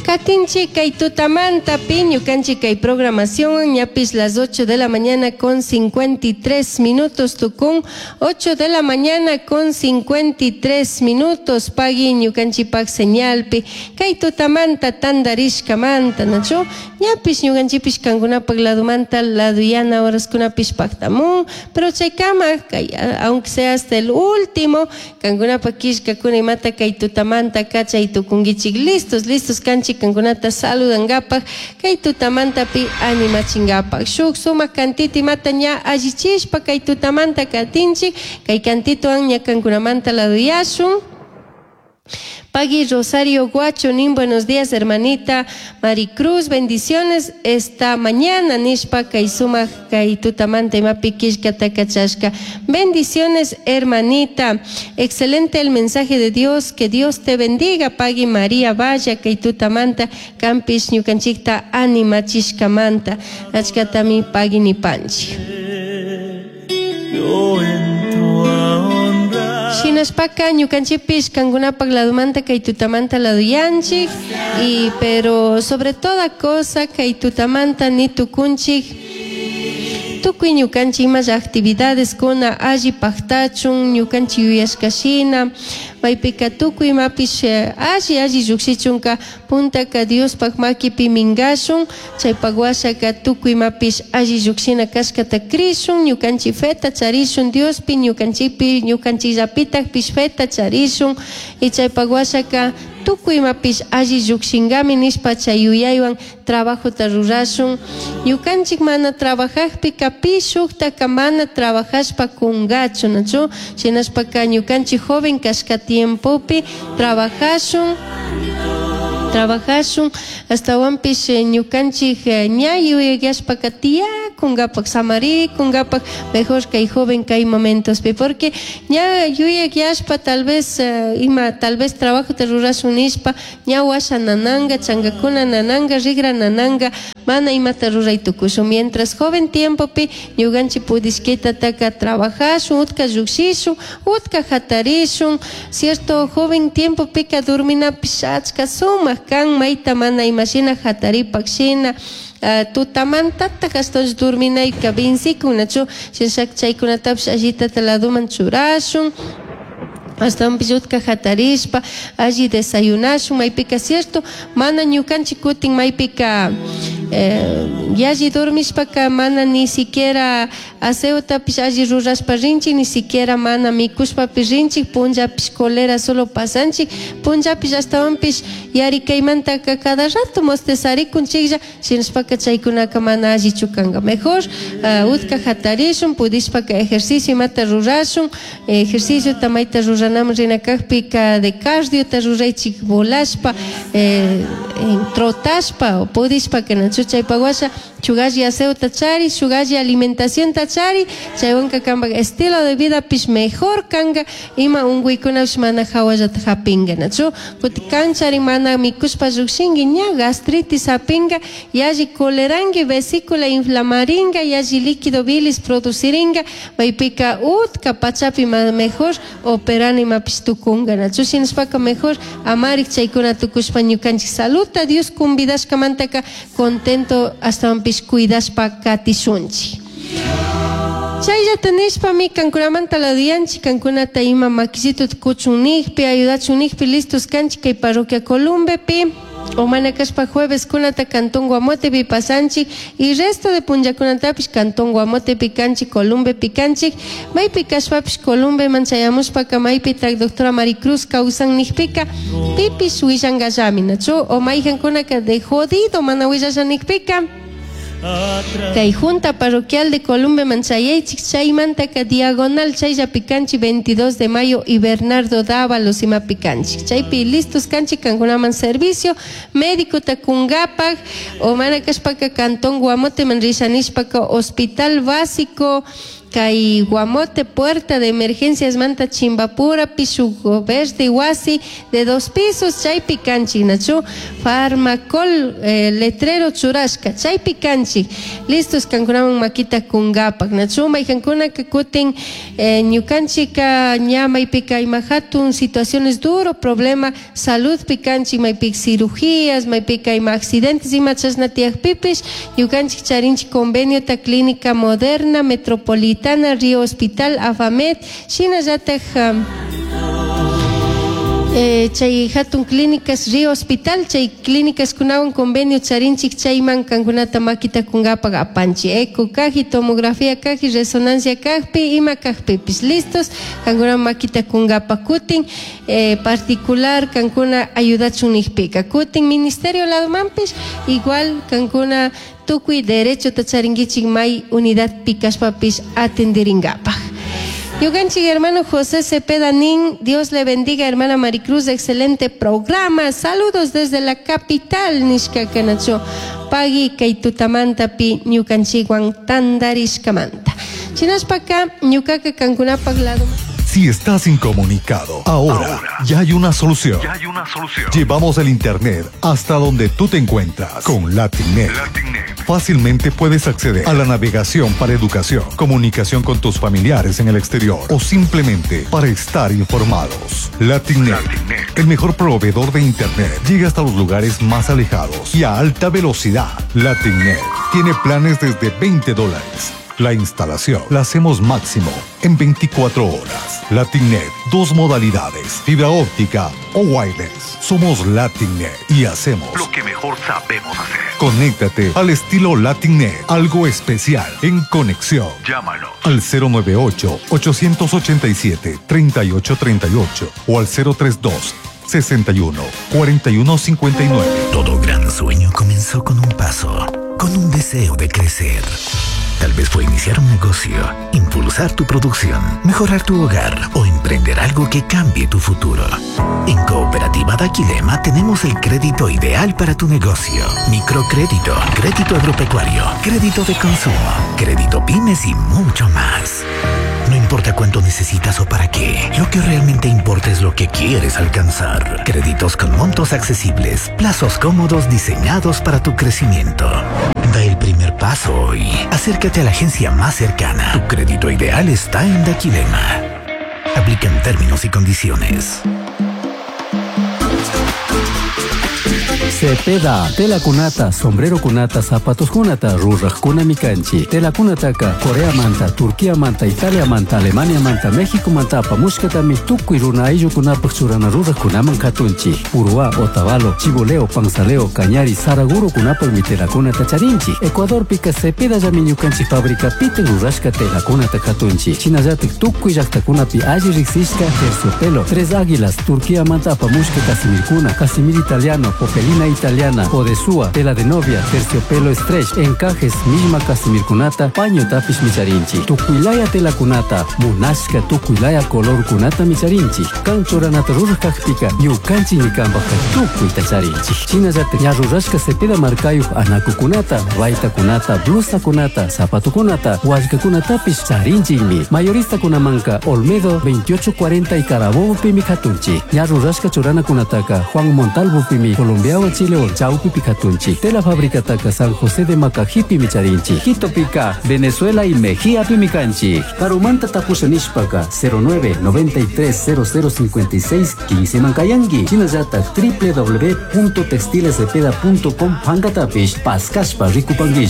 Katinchik kay tutamantapi ñukanchik kay programación ñapis las 8 de la mañana con 53 minutos tukun. 8 de la mañana con 53 minutos pagui ñukanchikpak señalpi kay tutamanta tandarishkamanta, nachu? Ñapish ñukanchikpish kankunapak ladomanta laduyana horaskunapish paktamun, pero chaykama kay, aunque sea hasta el último, kankunapak killkakuna imata kay tutamanta kachay tukunkichik. Listos, listos kanchik kankunata saludangapak, kay tutamantapi animachingapak. Shuk sumak cantito imata ña allichishpa kay tutamanta katinchik, kay cantitowan ña kankunamanta laduyashun. Pagui Rosario Guacho nin, buenos días, hermanita Maricruz, bendiciones esta mañana, nishpa kay sumak kay tutamanta imapi killkata kachashka. Bendiciones, hermanita, excelente el mensaje de Dios, que Dios te bendiga. Pagui María Valla kay tutamanta kampish ñukanchikta animachishkamanta achkatami pagui nipanchik. Yo entro a honrar. Shinashpaka ñukanchikpish kankunapak ladomanta kay tutamanta laduyanchik, y pero sobre toda cosa kay tutamanta ni tukunchik tukuy ñukanchik imasha actividades kuna alli paktachun ñukanchik yuyashka shina, maypika tukuy imapish alli alli llukshichunka puntaka Diospak makipi minkashun, chaypak washaka tukuy imapish alli llukshina kashkata krishun, ñukanchik feta charishun Diospi, ñukanchikpi, ñukanchikllapitakpish feta charishun, y chaypak washaka tukuy imapish alli llukshinkami nishpa chay yuyaywan trabajota rurashun. Ñukanchik mana trabajajpika pi shuktaka mana trabajashpa kungachu, nachu? Shinashpaka ñukanchik joven kashka tiempopi trabajashun, trabajashun, astawanpish ñukanchik ña yuyayashpaka tiyakungapak, samarikungapak, mejor kay joven kay momentospi, porque ña yuyayashpa tal vez ima tal vez trabajota rurashun nishpa ña washa nananga, chankakuna nananga, rigra nananga, mana imata ruray tukushun. Mientras joven tiempopi ñukanchik pudishkitataka trabajashun, utka llukshishun, utka hatarishun, cierto? Joven tiempopika dorminapish achka sumak kan, mayta mana imashina hataripak shina, tutamantatak ashtawanshi dorminayka vencikun, nachu? Shinashaka chaykunatapish allitata ladoman churashun, ashtawanpish utka hatarishpa alli desayunashun. Maypika cierto mana ñukanchik kutin maypika yalli dormishpaka mana ni siquiera aseotapish alli rurashpa rinchik, ni siquiera mana mikushpapish rinchik, punllapish colera solo pasanchik, punllapish ashtawanpish yarikaymantaka cada rato mostezarikunchiklla, shinashpaka chaykunaka mana allichu kanka. Mejor utka hatarishun, pudishpaka ejercicio imata rurashun, ejerciciota mayta ruranaman rina kakpika de cardiota ruraychik, volashpa, trotashpa, pudishpaka, nachu? Chaypak washa shuk alli aseota chari, shuk alli alimentacionta chari, chaywanka kanpak estilo de vidapish mejor kanka, ima unkuykunapish mana hawallata hapinka, nachu? Kutin kanchari mana mikushpa llukshinki, ña gastritis hapinka, yalli coleranki, vesícula inflamarinka, yalli líquido bilis producirinka, maypika utka pachapi mejor operana imapish tukunka, nachu? Shinashpaka mejor amarik chaykuna tukushpa ñukanchik saludta Dios convidashkamantaka contento ashtawanpish cuidashpa katishunchik. Chayllata nishpami kankunamanta laduyanchik, kankunata ima makisituta kuchun nijpi, ayudachun nijpi, listos kanchik kay parroquia Columbepi, o mana kashpa jueves kunata Cantón Guamotepi pasanchik, y resto de punllakunatapish Cantón Guamotepi kanchik, Columbepi kanchik, maypi kashpapish Columbeman chayamushpaka maypitak doctora Maricruz kawsan nijpika pipish willankallami, nachu? O mayjankunaka de jodido mana willasha nijpika kay Junta Parroquial de Columbe manchayaychik, chaymantaka diagonal chayllapi kanchik 22 de mayo y Bernardo Dávalos imapi kanchik, chaypi listos kanchik kankunaman servicio médico takungapak, o mana kashpaka Cantón Guamoteman risha nishpaka Hospital Básico. Kay Guamote puerta de emergencias manta Chimbapurapi shuk verde wasi de 2 pisos chaypi kanchik nachu Farmacol letrero churashka chaypi kanchik listos kankunaman makita kungapak nachu maykankunaka kutin ñukanchika ña maypika ima hatun situaciones duro problema saludpi kanchik maypika cirugías maypika ima accidentes ima chashna tiyakpipish ñukanchik charinchik conveniota Clínica Moderna Metropolitana Río Hospital Afamed shinallataj chay hatun clínicas Río Hospital chay clínicas kunawan convenio charinchik chayman kankunata makita kungapak apanchik eco kaji tomografía kaji resonancia kajpi ima kajpipis listos kankuna makita kungapak kutin particular kankuna ayudachun nijpika kutin ministerio ladomanpish igual kankuna tukuy derechota charinkichik may unidad pikashpapish atendiringapak. Ñukanchik hermano José Cepeda Nin, Dios le bendiga hermana Maricruz, excelente programa, saludos desde la capital nishka kanacho, pagui kay tutamantapi ñukanchikwan tandarishkamanta. Chinashpaka ñukaka kankunapak lado. Si estás incomunicado, ahora ya hay una solución. Ya hay una solución. Llevamos el internet hasta donde tú te encuentras con LatinNet. LatinNet. Fácilmente puedes acceder a la navegación para educación, comunicación con tus familiares en el exterior o simplemente para estar informados. LatinNet, LatinNet. el mejor proveedor de internet, llega hasta los lugares más alejados y a alta velocidad. LatinNet tiene planes desde $20. La instalación la hacemos máximo en 24 horas. LatinNet, 2 modalidades, fibra óptica o wireless. Somos LatinNet y hacemos lo que mejor sabemos hacer. Conéctate al estilo LatinNet, algo especial en conexión. Llámanos al 098 887 3838 o al 032 61 41 59. Todo gran sueño comenzó con un paso, con un deseo de crecer. Tal vez fue iniciar un negocio, impulsar tu producción, mejorar tu hogar o emprender algo que cambie tu futuro. En Cooperativa Daquilema tenemos el crédito ideal para tu negocio. Microcrédito, crédito agropecuario, crédito de consumo, crédito pymes y mucho más. No importa cuánto necesitas o para qué, lo que realmente importa es lo que quieres alcanzar. Créditos con montos accesibles, plazos cómodos diseñados para tu crecimiento. Da el primer paso hoy. Acércate a la agencia más cercana. Tu crédito ideal está en Daquilema. Aplican términos y condiciones. Cepeda, tela kunata, sombrero kunata, zapatos kunata, ruraj kunami kanchi. Tela kunataka, Corea manta, Turquía manta, Italia manta, Alemania manta, México manta, apamushkatami, tukuy runa ayllukunapaj churana ruraj kunaman katunchi. Uruá, Otavalo, Chiboleo, Panzaleo, Cañari, Saraguro kunapajmi tela kunata charinchi. Ecuador pika Cepeda llami ñukanchi fábrica pite rurashka tela kunata katunchi. Shinallatik tukuy llaktakunapi alli riksishka terciopelo, Tres Águilas, Turquía manta apamushka casimirkuna, casimir italiano, popelina italiana, odesúa, tela de novia, terciopelo stretch, encajes, misma casimirkunata, paño tapish micharinchi, tukuilaya tela kunata, munashka tukuilaya color kunata micharinchi, kanchoranata rurajkajpika, ñukanchi ñikanpajka tukuyta charinchi. Shinallatak ña rurashka cepeda markayuj anakukunata, baytakunata, blusakunata, zapatukunata, wallkakunatapish charinchikmi. Mayoristakunamanka Olmedo 2840 y Carabobo pimi katunchi. Ña rurashka churanakunataka Juan Montalvo pimi Colombia Chile Chaupi Picatunchi, Tela Fábrica Taca San José de Macajipi Micharinchi, Quito Pica, Venezuela y Mejía Pimicanchi, Carumanta Tapushanishpaka 09 93 00 56 15 Mancayangui, Chinayata www.textilescepeda.com Pancatapish, Pascaspa Ricupanguilla.